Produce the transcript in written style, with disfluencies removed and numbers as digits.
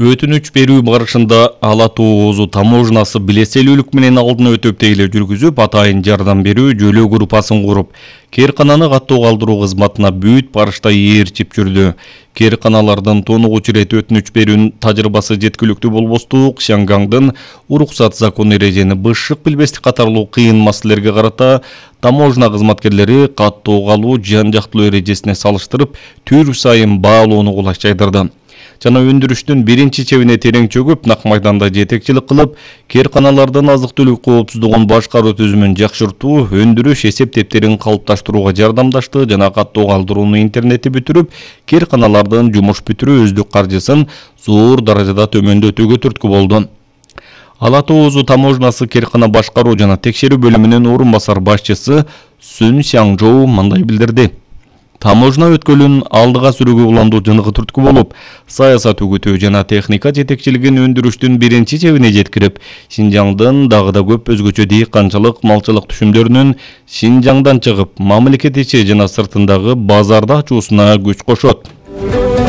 Өтүнүч берүү барышында Ала Тоо Озу таможнасы билеселүүлүк менен алдын өтөп тейлөө жүргүзүп, атайын жардам берүү жөлөө группасын куруп, кээркананы каттоо калтыруу кызматына бүт барышта ээрчип жүрдү. Кээрканалардын тонугучу ирет өтүнүч берүүнүн тажрыйбасы жеткиликтүү болбостук, Шангаңдын уруксат закон эрежени бышык билбестик катарлуу кыйын маселелерге карата таможна кызматкерлери каттоого алуу жан жактылуу эрежесине салыштырып, түр сайын баалоону кулачайдырды. Жана өндүрүштүн биринчи чебине терең чөгүп, нак майданда жетекчилик кылып, кээрканалардын азык-түлүк коопсуздугун башкаруу түзүмүн жакшыртуу, өндүрүш эсеп-тептерин калыпташтырууга жардамдашты жана каттоо калтырууну интернетти бүтүрүп, кээрканалардын жумуш бүтүрүү өздүк каржысын зор даражада төмөндөтүүгө түрткү болду. Ала Тоо Озу таможнасы кээркана башкаруу жана текшерүү бөлүмүнүн орун басар башчысы Сүн Сяңжоу мындай билдирди. Таможна өткөлүн алдыга сүрүүгө уламдуу жыныгы түрткү болуп, саясат үгүтүү жана техника жетекчилигин өндүрүштүн биринчи чебине жеткирип, Шинжаңдын дагы да көп өзгөчө дыйканчылык, малчылык түшүмдөрүнүн Шинжаңдан чыгып, мамлекет ичи жана сыртындагы базарды ачуусуна күч кошот.